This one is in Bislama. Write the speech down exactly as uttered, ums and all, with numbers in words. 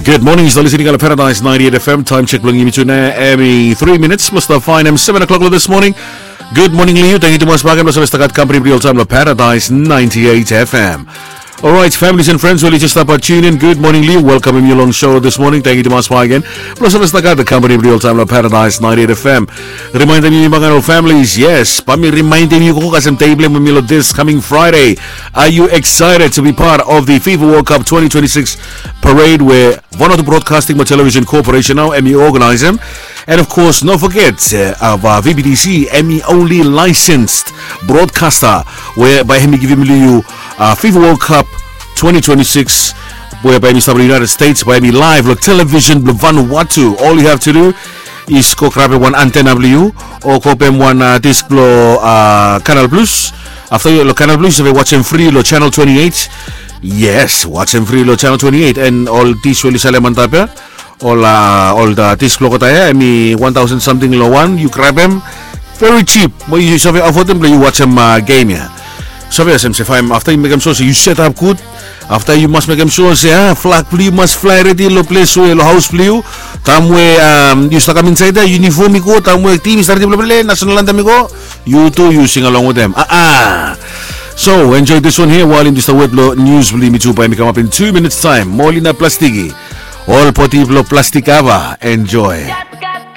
Good morning, yu stap listening long Paradise ninety-eight F M. Time check bilong yumi tu nau, hemi three minutes blong stap faenem seven o'clock long this morning. Good morning long yu. Tangkiu tumas bakegen blong save stap gat kampani bilong yu oltaem long Paradise ninety-eight F M. Alright, families and friends, we oli jes stap tune in. Good morning long yu. Welcomem yu long show this morning. Tangkiu tumas bakegen blong save stap gat kampani bilong yu oltaem long Paradise ninety-eight F M. Rimaendem yumi bakegen ol families, yes, bae mi rimaendem yu go kasem dei bilong yumi long this coming Friday. Are you excited to be part of the FIFA World Cup twenty twenty-six parade we Vanuatu Broadcasting mo Television Corporation nau hemi organizem? And of course, no forget, uh, of, uh, V B T C, hemi only licensed broadcaster we bae hemi givim long yu, uh, FIFA World Cup twenty twenty-six, we bae hemi stap long United States, bae hemi live long television bilong Vanuatu. All you have to do is go grabem wan antenna bilong yu, o go pem wan, uh, disk bilong, uh, Canal Plus. Afta yu long Canal Plus, yu save wajem fri long channel twenty-eight. Yes, wajem fri long channel twenty-eight. And ol dish we oli salem antap ya, ol, uh, ol, uh, dish bilong olgeta ya, hemi one thousand something long wan, yu grabem. Very cheap. Mo yu save afodem bilong yu wajem, uh, game ya. Save olsem se faem, afta yu mekem sua se yu set up gud. Afta yu mas mekem sua se, ah, flag bilong yu mas flae redi long ples we long haus bilong yu. Taem we, um, yu stap kam insaed ya, yunifom i go, taem we tim i stap redi bilong ples, national anthem i go, yu tu yu singalong wetem. Ah, ah. So enjoy this one here while yumi stap wet long news bilong yumi tu bae hemi kamap in two minutes time. Molina Plastiki, ol poti bilong plastik ava. Enjoy.